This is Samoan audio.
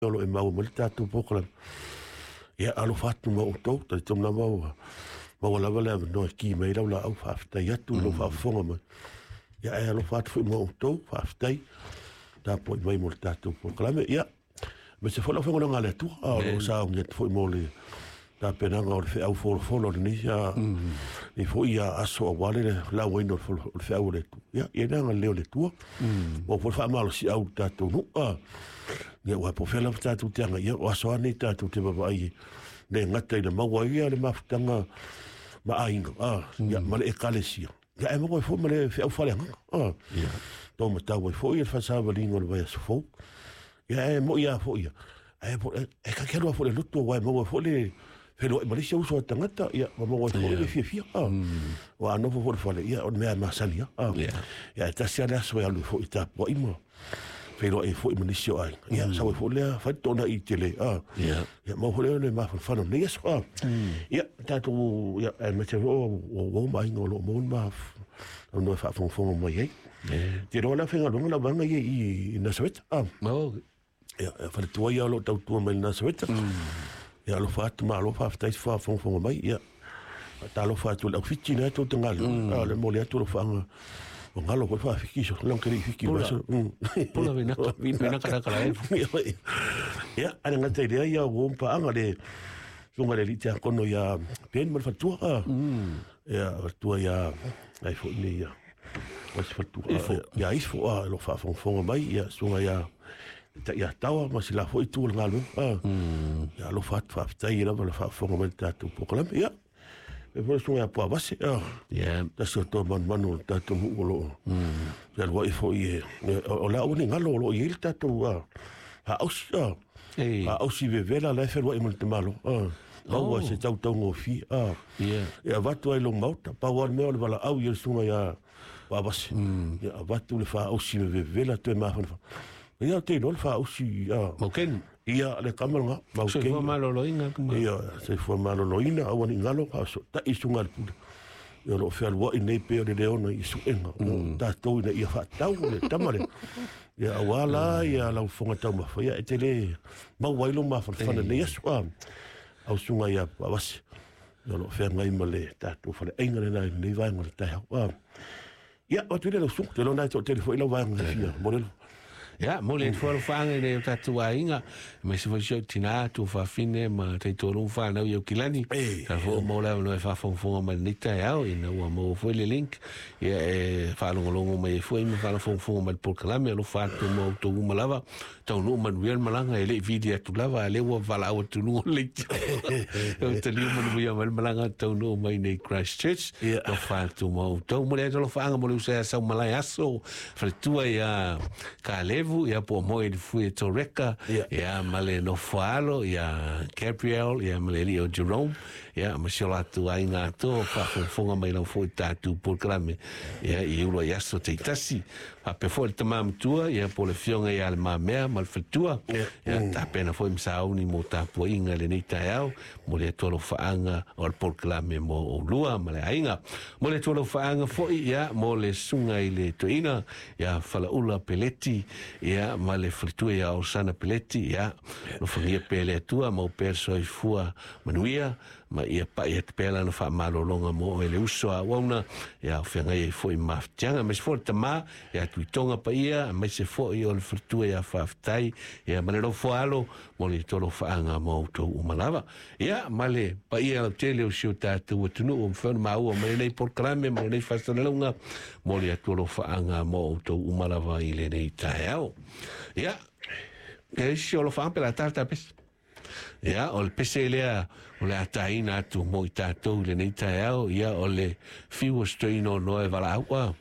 O lo o e maua mai le tatou polokalame. Ia, alofa atu ma outou, talitonu lava ua maua lava le avanoa e ki mai ai lau laau, faafetai atu i lou faafofoga mai. Ia, ae alofa atu foi ma outou, faafetai tapuai mai mo le tatou polokalame. Ia, aemaise foi lau Afioga i le Atua, a o lo o sauni atu foi mo le tapenaga o le feau folafolo o lenei nei foi aso aua le lauina o le feau o le Atua. Ia, ia le agalelei o le Atua. Ua foi le faamalosiau i le tatou nuu. Ia, aua po o fea lava tatou te agai, ia, o aso lava nei tatou te vaavaai e le gata i le maua ai le mafutaga ma aiga, ia, ma le ekalesia. Ia, ae maua ai foi ma le feau faaleagaga. Tau matau ai foi le faasavaliga o le vaiaso fou. Ia, ae moi lava foi ia, ae e ta te alu lava foi i le lotu aua e maua ai foi le feiloai ma le isi uso a tagata, ia, ma maua ai foi le fiafia. Aua a nofo foi i le fale, ia, o le mea masani lava. Ia, ae tasi lava le aso e alu ai foi i tapuai ma feiloai ai foi ma nisi o aiga. Ia, sau ai foi lea, fai le toonai tele. Ia, maua foi lea le mafanafana o lenei aso. Ia, tatou, ia, aemaise foi o uo ma aiga o lo o maua le avanoa e faafogafoga mai ai. Te iloa la faigaluega la vaega ia i Nasareta. Ia, e faletua ia o lo o tautua mai i Nasareta. Ia, alofa atu, malo faafetai se faafogafoga mai. Ia, faatalofa atu i le au Fiti lea tou te galulue. A o le momoli atu o alofaaga ua galo foi le faafiki so lang ke le fiki Pula. Vaso. Pula vinaka. Vinaka naka la e. Ia, ale ngata i lea ia ua paaga le susuga i le alii tiakono ia Ben ma le faletua. Ia, faletua ia ai foi nei ia o se faletua. Ifo. Ia Ifo, o lo o faafogafoga mai, ia susuga ia Ta'iataua ma si la foi itu o le galuega. Ia, alofa atu, faafetai lava le faafofoga mai i le tatou polokalame. Ia, e foi le susuga ia Puavase, tasi o toa manumanu o le tatou nuu o lo o fealuai foi e, o le a ua ni galo o lo o i ai le tatou faausi, faausi vevela la e fealuai ma le tamaloa. Maua se tautaugofie, e avatu ai i lou maota, pau lava le mea o le valaau i le susuga ia Puavase, ia avatu le faausi vevela toe mafanafana. Ia, ou te iloa le faausi, Maukeni. Ia, le kama lena, maukeni. Soifua maloloina. Ia, soifua maloloina, aua ne i galo, faasootai susuga a le pule. Ia, o lo o fealuai nei pei o le leona i suega o tatou ina ia faatau le tama lea. Ia, aua la ia lau fofoga taumafa, ia e te le maua ai lou mafanafana i lenei aso. Au susuga ia Puavase, ia o lo o feagai ma le tatou faleaiga lena i lenei vaega o le taeao. Ia, o atu i le lau susuga, ou te iloa na e toatele foi lau vaega e fia momoli. Ia, momoli atu foi alofaaga i nai o tatou aiga, aemaise foi si ou tina, tuafafine ma taitolu ma fanau i Aukilani. Sa foi ua maua le avanoa e faafogafoga mai i lenei taeao, ina ua maua foi le link, ia e faalogologo mai ai foi ma faafogafoga mai i le polokalame. Alofa atu ma outou uma lava. Taunuu manuia le malaga, e le i vili atu lava, a lea ua valaau atu luga o le leitio. E taliu manuia mai le malaga, taunuu mai nei Christchurch. Alofa atu ma outou. Momoli atu alofaaga mo le uso ia Saumalae Aso, faletua ia Kalevu, ia po o moe i le fui e Toreka, ia ma le nofoalo ia Gabriel, ia ma le alii o Jerome, ia ma si o latou aiga atoa o faafogafoga mai lava foi i tatou polokalame, ia i ulu ai aso taitasi. Faapea foi le tama matua, ia po o le afioga ia Le Mamea ma le faletua, ia tapena foi ma sauni mo tapuaiga i lenei taeao, momoli atu alofaaga o le polokalame mo oulua ma le aiga. Momoli atu alofaaga foi, ia, mo le susuga i le toeaina ia Falaula Peleti, ia, ma le faletua ia Osana Peleti, ia, alofagia pea e le Atua, maua pea le soifua manuia, ma ia pai atu pea lana faamalologa mo oe le uso a auauna, ia o feagai ai foi ma mafatiaga, aemaise foi o le tama ia Tuitoga Paia, aemaise foi o le faletua ia Faafetai, ia ma le Lofoalo, mo le tolofaaga mo outou uma lava. Ia, ma le paia lautele o si o tatou atunuu ua mafai ona maua mai lenei polokalame ma lenei faasalalauga, mo le atualofaaga mo outou uma lava i lenei taeao. Ia, e isi o alofaaga pe la tala tapesi. Ia, o le pese lea o le a taina atu mo i tatou i lenei taeao, ia, o le fiu o se toeaina o Noa e valaau.